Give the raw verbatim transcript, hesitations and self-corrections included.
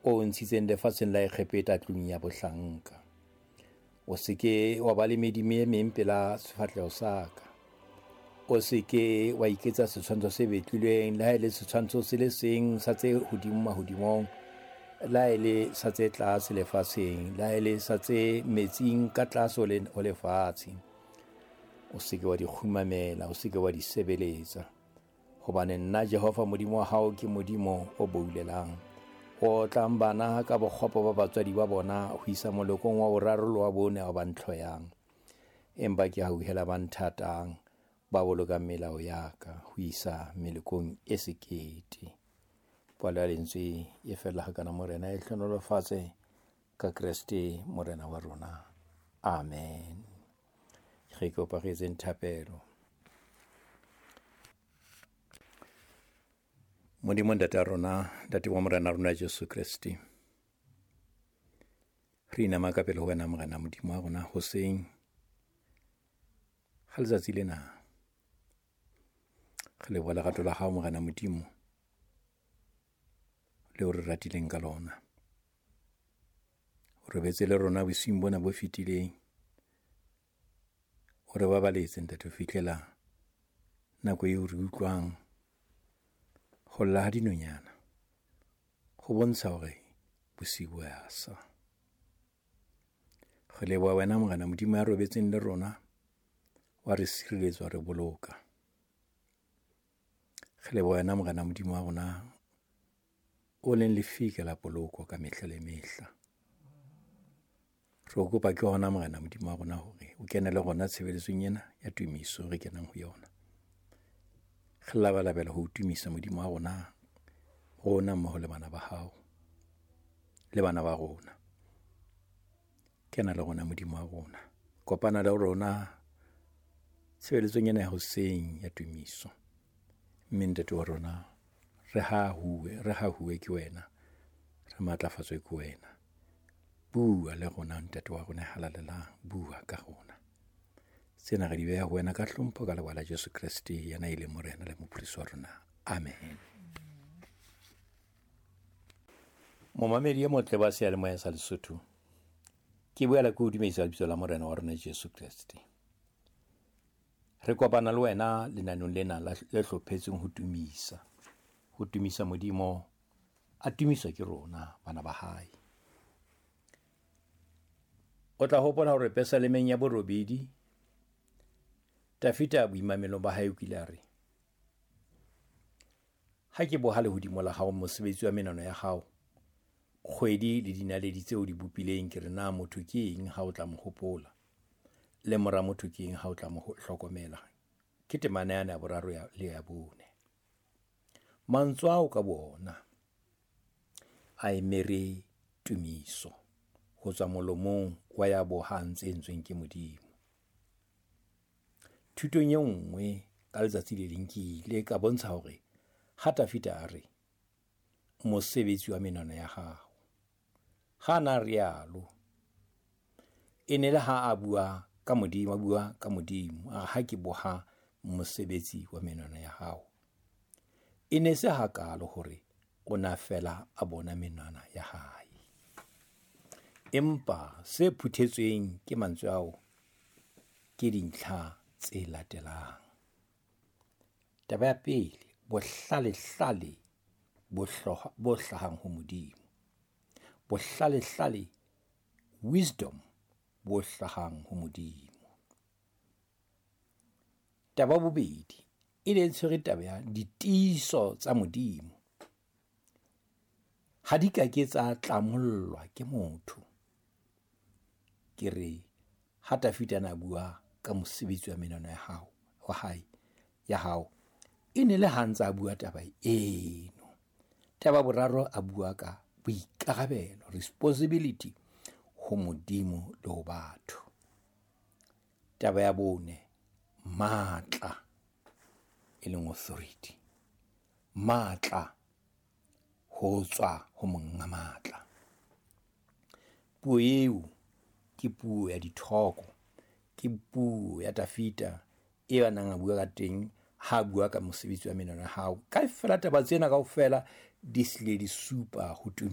o ntshitseng lefatsheng la Egepeta tlung ya bohlanka. O se ke wa ba le medimo e meng pela sefahleho sa ka. O se ke wa iketsa setshwantsho se betlilweng, le ha e le setshwantsho se le seng sa tse hodimo mahodimong, le ha e le sa tse tlase lefatsheng, le ha e le sa tse metsing ka tlase ho lefatshe. O se ke wa di kgumamela, o se ke wa di sebeletsa. Hobane nna Jehova Modimo wa hao ke Modimo o boulelang, o otlang bana ka bokgopo ba batswadi ba bona ho isa molokong wa boraro le wa bone wa ba ntlhoyang. Empa ke hauhela ba nthatang, ba bolokang melao ya ka ho isa melokong e sekete. Palo ya lentswe e fella hakana. Morena e hlohonolofatse ka Kreste Morena wa rona. Amen. Re kopa re etseng thapelo. Modimo Ntate wa rona, Ntate wa Morena rona Jesu Kreste, re inama ka pele ho wena Morena Modimo wa rona hoseng ha letsatsi lena. Re leboha lerato la hao Morena Modimo leo re ratileng ka lona. O robetse le rona bosiung bona bo fetileng, o re babaletse Ntate ho fihlela nako eo re utlwang ho lla ha dinonyana ho bontsha hore bosiu bo a sa. Re leboha wena Morena Modimo ya robetseng le rona, wa re sireletsa, wa re boloka. Re leboha wena Morena Modimo wa rona o leng lefika la poloko ka mehla le mehla. Re o kopa ke hona Morena Modimo wa rona hore o kene le rona tshebeletsong ena ya tumiso re kenang ho yona. Re labalabela ho tumisa Modimo wa rona, rona mmoho le bana ba hao le bana ba rona. Kena le rona Modimo wa rona, kopana le rona tshebeletsong ena ya hoseng ya tumiso. Mme Ntate wa rona, re hahuwe, re hahuwe ke wena, re matlafatswe ke wena. Bua le rona Ntate wa rona halalelang, bua ka rona. Tsena re di beha ho wena ka hlompho ka lebaka la Jesu Kreste, yena e leng Morena le Mopholosi wa rona. Amen. Momamedi e motle wa seyalemoya sa Lesotho, ke boela ke o dumedisa lebitso la Morena wa rona Jesu Kreste. Re kopana le wena lenaneng lena le hlophetsweng ho tumisa, ho tumisa Modimo, a tumiswa ke rona bana ba hae. O tla hopola hore Pesalemeng ya borobedi, Dafita boimamelong ba hae o kile a re, ha ke boha lehodimo la hao, mosebetsi wa menwana ya hao, kgwedi le dinaledi tseo di bopileng, ke re na motho ke eng ha o tla mo hopola, le mora motho ke eng ha o tla mo hlokomela. Ke temana yana ya boraro le ya bone. Mantswe ao ka boona a emere tumiso ho tswa molomong wa ya bohang tse entsweng ke Modimo. Thutong e nngwe ka letsatsi le leng ke ile ka bontsha hore ha Dafita a re mosebetsi wa menwana ya hao, ha na rialo e ne le ha a bua ka Modimo, a bua ka Modimo, a ha ke boha mosebetsi wa menwana ya hao. E ne se hakalo hore o na fela a bona menwana ya hae, empa se phuthetsweng ke mantswe ao ke dintlha tse latelang. Taba ya pele, bohlalehlale bo bo hlahang ho Modimo. Bohlalehlale, wisdom, bo hlahang ho Modimo. Taba bobedi, e ne tshwere taba ya ditiiso tsa Modimo. Ha di ka ke tsa tlamollwa ke motho. Ke re ha Dafita na bua ka mosebetsi wa menwana ya hao, wa hae, ya hao, e ne le ha ntse a bua taba eno. Taba boraro, a bua ka boikarabelo, responsibility ho Modimo le ho batho. Taba ya bone, matla, e leng authority, matla ho tswa ho monga matla. Puo eo ke puo ya dithoko, ke puo ya Dafita e a nang a bua ka teng ha bua ka mosebetsi wa menwana ya hao. Kaofela taba tsena kaofela di hlile di supa ho